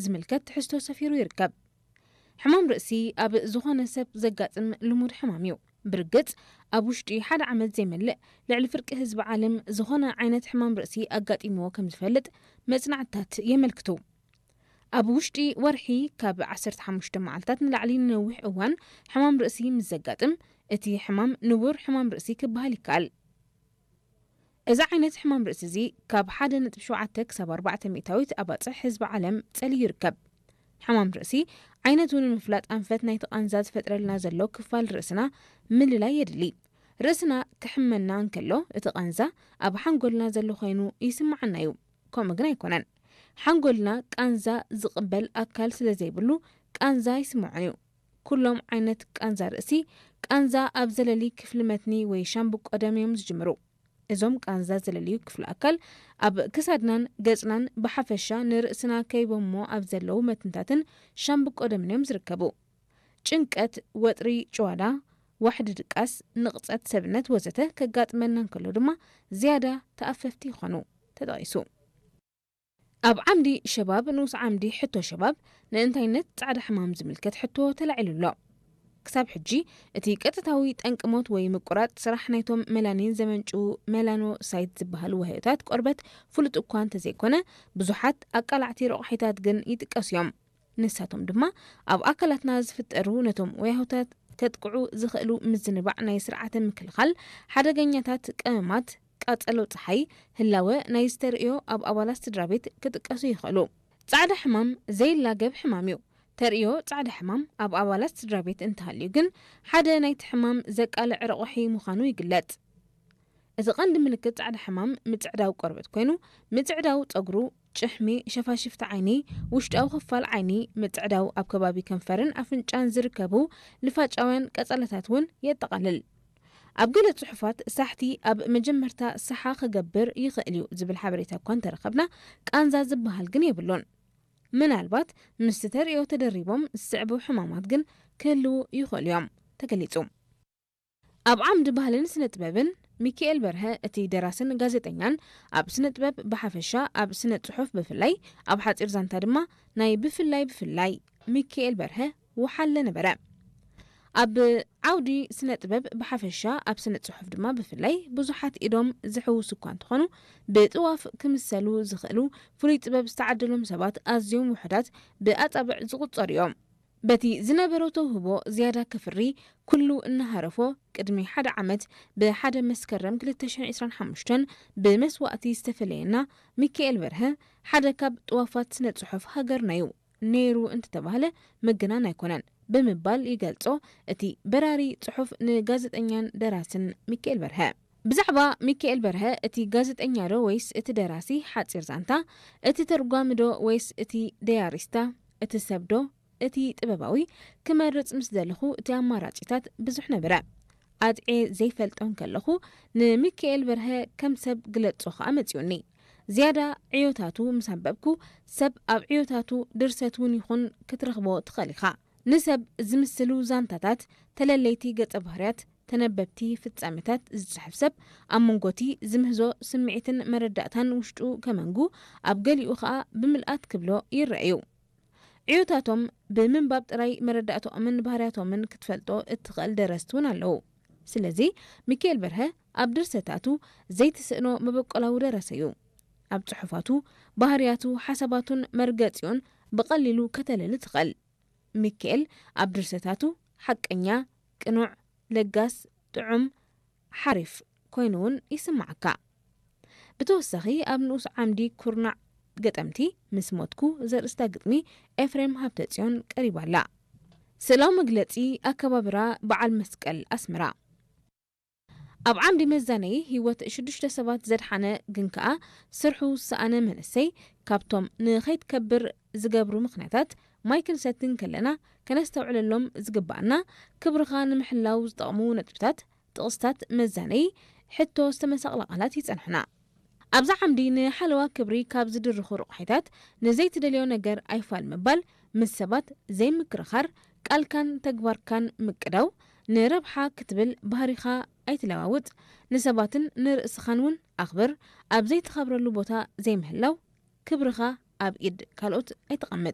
ዝምልከት ትሕዝቶ ሰፊሩ ይርከብ። ሕማም ርእሲ ኣብ ዝኾነ ሰብ ዘጋጥም ልሙድ ሕማም እዩ። ብርግጽ፣ ኣብ ውሽጢ ሓደ ዓመት ዘይመልእ ልዕሊ ፍርቂ ህዝቢ ዓለም ዝኾነ ዓይነት ሕማም ርእሲ ኣጋጢምዎ ከም ዝፈልጥ መጽናዕትታት የመልክቱ። ኣብ ውሽጢ ወርሒ ካብ ዓሰርተ ሓሙሽተ መዓልታት ንላዕሊ ንነዊሕ እዋን ሕማም ርእሲ ምስ ዘጋጥም፣ እቲ ሕማም ንቡር ሕማም ርእሲ ክበሃል ይከኣል። እዚ ዓይነት ሕማም ርእሲ እዚ ካብ ሓደ ነጥቢ ሸውዓተ ክሳብ ኣርባዕተ ሚእታዊት ኣባጽሕ ህዝቢ ዓለም ጸልዩ ይርከብ። ሕማም ርእሲ ዓይነቱ ንምፍላጥ ኣንፈት ናይቲ ቃንዛ ዝፈጥረልና ዘሎ ክፋል ርእስና ምልላይ የድሊ። ርእስና ክሕመና እንከሎ፣ እቲ ቃንዛ ኣብ ሓንጎልና ዘሎ ኮይኑ ይስምዓና እዩ። ከምኡ ግን ኣይኮነን። ሓንጎልና ቃንዛ ዝቕበል ኣካል ስለ ዘይብሉ፣ ቃንዛ ኣይስምዖን እዩ። ኩሎም ዓይነት ቃንዛ ርእሲ፣ ቃንዛ ኣብ ዘለሊ ክፍሊ መትኒ ወይ ሻምብቆ ደም እዮም ዝጅምሩ። እዞም ቃንዛ ዘለልዩ ክፍሊ ኣካል ኣብ ክሳድናን ገጽናን ብሓፈሻ ንርእስና ከይቦሞ ኣብ ዘለዉ መትንታትን ሻምብቆ ደምን እዮም ዝርከቡ። ጭንቀት፣ ወጥሪ፣ ጭዋዳ፣ ዋሕዲ ድቃስ፣ ንቕጸት ሰብነት ወዘተ ከጋጥመና እንከሎ ድማ ዝያዳ ተኣፈፍቲ ይኾኑ። ተጠቒሱ። ኣብ ዓምዲ ሸባብ፣ ንኡስ ዓምዲ ሕቶ ሸባብ፣ ንእንታይነት ጻዕዳ ሕማም ዝምልከት ሕቶ ተላዒሉ ኣሎ። ክሳብ ሕጂ፣ እቲ ቀጥታዊ ጠንቂ ሞት ወይ ምቁራጽ ስራሕ ናይቶም መላኒን ዘመንጭዉ መላኖሳይት ዝበሃሉ ዋህዮታት ቆርበት ፍሉጥ እኳ እንተዘይኮነ፣ ብዙሓት ኣቃላዕቲ ረቑሒታት ግን ይጥቀሱ እዮም። ንሳቶም ድማ ኣብ ኣካላትና ዝፍጠሩ ነቶም ወያሆታት ከጥቅዑ ዝኽእሉ ምዝንባዕ ናይ ስርዓተ ምክልኻል፣ ሓደገኛታት ቀመማት፣ ቃጸሎ ጸሓይ፣ ህላወ ናይ ዝተርእዮ ኣብ ኣባላት ስድራ ቤት ክጥቀሱ ይኽእሉ። ጻዕዳ ሕማም ዘይላገብ ሕማም እዩ። ተርእዮ ጻዕዳ ሕማም ኣብ ኣባላት ስድራ ቤት እንተሃልዩ ግን ሓደ ናይቲ ሕማም ዘቃልዕ ረቑሒ ምዃኑ ይግለጽ። እቲ ቀንዲ ምልክት ጻዕዳ ሕማም ምጽዕዳው ቆርበት ኮይኑ፣ ምጽዕዳው ጸጉሩ፣ ጭሕሚ፣ ሸፋሽፍቲ ዓይኒ፣ ውሽጣዊ ክፋል ዓይኒ፣ ምጽዕዳው ኣብ ከባቢ ከንፈርን ኣፍንጫን ዝርከቡ ልፋጫውያን ቀጸላታት እውን የጠቓልል። ኣብ ገለ ጽሑፋት ሳሕቲ ኣብ መጀመርታ ሰሓ ክገብር ይኽእል እዩ ዝብል ሓበሬታ እኳ እንተረኸብና፣ ቃንዛ ዝበሃል ግን የብሉን። ምናልባት ምስቲ ተርእዮ ተደሪቦም ዝስዕቡ ሕማማት ግን ክህልዉ ይኽእሉ እዮም ተገሊጹ። ኣብ ዓምዲ ባህልን ስነ ጥበብን፣ ሚኪኤል በርሀ እቲ ደራስን ጋዜጠኛን፣ ኣብ ስነ ጥበብ ብሓፈሻ፣ ኣብ ስነ ጽሑፍ ብፍላይ፣ ኣብ ሓጺር ዛንታ ድማ ናይ ብፍላይ ብፍላይ ሚኪኤል በርሀ ወሓለ ነበረ። ኣብ ዓውዲ ስነ ጥበብ ብሓፈሻ፣ ኣብ ስነ ጽሑፍ ድማ ብፍላይ ብዙሓት ኢዶም ዝሕውሱ እኳ እንተኾኑ፣ ብጥዋፍ ክምሰሉ ዝኽእሉ ፍሉይ ጥበብ ዝተዓደሎም ሰባት ኣዝዮም ውሑዳት ብኣጻብዕ ዝቑጸሩ እዮም። በቲ ዝነበሮ ተውህቦ ዝያዳ ከፍሪ ኩሉ እናሃረፎ፣ ቅድሚ ሓደ ዓመት ብሓደ መስከረም ክልተ ሽሕን ዕስራን ሓሙሽተን ብመስዋእቲ ዝተፈለየና ሚኪኤል በርሀ ሓደ ካብ ጥዋፋት ስነ ጽሑፍ ሃገርና እዩ። ነይሩ እንተተባህለ ምግናን ኣይኮነን ብምባል ይገልጾ እቲ በራሪ ጽሑፍ ንጋዜጠኛን ደራስን ሚኪኤል በርሀ። ብዛዕባ ሚኪኤል በርሀ እቲ ጋዜጠኛ ዶ ወይስ እቲ ደራሲ ሓጺር ዛንታ፣ እቲ ተርጓሚ ዶ ወይስ እቲ ደያሪስታ፣ እቲ ሰብ ዶ እቲ ጥበባዊ ክመርጽ ምስ ደለኹ እቲ ኣማራጺታት ብዙሕ ነበረ። ኣጥዕየ ዘይፈልጦ እንከለኹ ንሚኪኤል በርሀ ከም ሰብ ግለጾ ከኣ መጺኡኒ። ዝያዳ ዕዮታቱ ምስ ኣንበብኩ ሰብ ኣብ ዕዮታቱ ድርሰት እውን ይኹን ክትረኽቦ ትኽእል ኢኻ። ንሰብ ዝምስሉ ዛንታታት፣ ተለለይቲ ገጸ ባህርያት፣ ተነበብቲ ፍጻመታት ዝጽሕፍ ሰብ ኣብ መንጎቲ ዝምህዞ ስምዒትን መረዳእታን ውሽጡ ከመንጉ ኣብ ገሊኡ ከኣ ብምልኣት ክብሎ ይረኣዩ። ዕዮታቶም ብምንባብ ጥራይ መረዳእታኦምን ባህርያቶምን ክትፈልጦ እትኽእል ደረስቲ እውን ኣለዉ። ስለዚ ሚኪኤል በርሀ ኣብ ድርሰታቱ ዘይትስእኖ መበቆላዊ ደራሲ እዩ። ኣብ ጽሑፋቱ ባህርያቱ፣ ሓሳባቱን መርገጺኡን ብቐሊሉ ከተለሊ ትኽእል። ሚኪኤል ኣብ ድርሰታቱ ሓቀኛ፣ ቅኑዕ፣ ለጋስ፣ ጥዑም፣ ሓሪፍ ኮይኑ እውን ይስምዓካ። ብተወሳኺ ኣብ ንኡስ ዓምዲ ኩርናዕ ገጠምቲ ምስ ሞትኩ ዘርእስታ ግጥሚ ኤፍሬም ሃብተጽዮን ቀሪባ ኣላ። ስእላዊ መግለጺ ኣከባብራ በዓል መስቀል ኣስመራ። ኣብ ዓምዲ መዛነዪ ህይወት ሽዱሽተ ሰባት ዘድሓነ ግን ከኣ ስርሑ ዝሰኣነ መንእሰይ ካብቶም ንኸይትከብር ዝገብሩ ምኽንያታት ማይ ክንሰቲ እንከለና ከነስተውዕለሎም ዝግበኣና ክብርኻ ንምሕላው ዝጠቕሙ ነጥብታት፣ ጥቕስታት መዛነዪ ሕቶ ዝተመሳቕላ ቃላት ይጸንሑና። ኣብዛ ዓምዲ ንሓለዋ ክብሪ ካብ ዝድርኹ ረቑሒታት ንዘይትደልዮ ነገር ኣይፋል ምባል፣ ምስ ሰባት ዘይምክርኻር፣ ቃልካን ተግባርካን ምቅዳው፣ ንረብሓ ክትብል ባህሪኻ ኣይትለዋውጥ፣ ንሰባትን ንርእስኻን እውን ኣኽብር፣ ኣብ ዘይትኸብረሉ ቦታ ዘይምህላው፣ ክብርኻ ኣብ ኢድ ካልኦት ኣይተቐምጥ።